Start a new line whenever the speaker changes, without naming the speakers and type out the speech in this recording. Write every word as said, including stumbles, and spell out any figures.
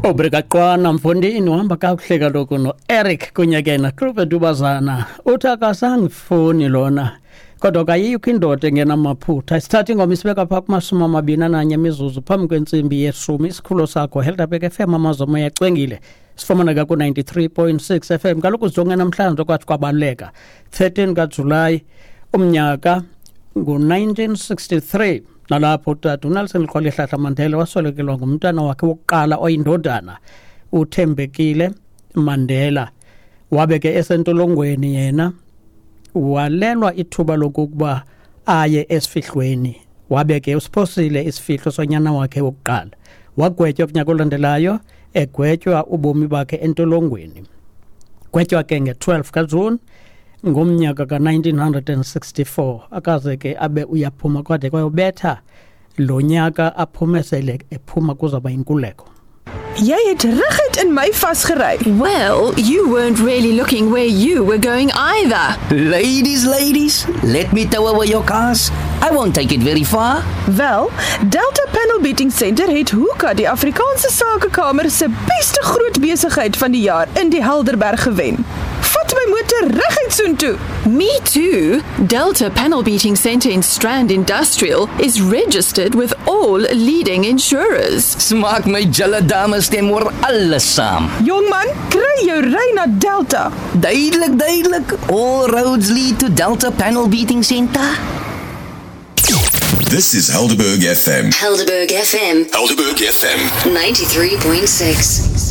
Obrigaqwana mfondini, uhamba kakuhle kaloku no-Eric kunye ke naClubhe Dubazana. Uthi akasangifuni lona, kodwa kayikho indoda engenamaphutha. Sithatha ingoma isibeka phaa kumashumi amabini ananye imizuzu phambi kwentsimbi yeshumi. Isikhululo sakho Helderberg F M, amazomo yacwengile, sifumaneka ku-ninety-three point six F M. Kaloku sijonge namhlanje kwathi kwabaluleka thirteen kaJulayi umnyaka ngu-nineteen sixty-three, nalapho utata uNelson Rolihlahla Mandela waswelekelwa ngumntana wakhe wokuqala oyindodana, uThembekile Mandela. Wabe ke esentolongweni yena, walelwa ithuba lokuba aye esifihlweni, wabe ke usiphosile isifihlo sonyana wakhe wokuqala. Wagwetywa kunyaka olandelayo, egwetywa ubomi bakhe entolongweni. Gwetywa ke nge-twelve kaJuni ngomnyaka ka-nineteen sixty-four, akaze ke abe uyaphuma kwade kwayobetha lo nyaka aphume sele ephuma kuzawuba yinkululeko.
Jy het reguit in my vasgery.
Well, you weren't really looking where you were going either.
Ladies, ladies, let me tow away your cars. I won't take it very far.
Wel, Delta Panel Beating Center het Hoeka, die Afrikaanse Sakekamer se beste groot besigheid van die jaar in die Helderberg gewen. Vat my motor reguit soontoe.
Me too. Delta Panel Beating Center in Strand Industrial is registered with all leading insurers.
Smaak my julle dames stem oor alles saam.
Jongman, kry jou ry na Delta.
Duidelik, duidelik. All roads lead to Delta Panel Beating Center.
This is Helderberg F M.
Helderberg F M.
Helderberg F M.
ninety-three point six.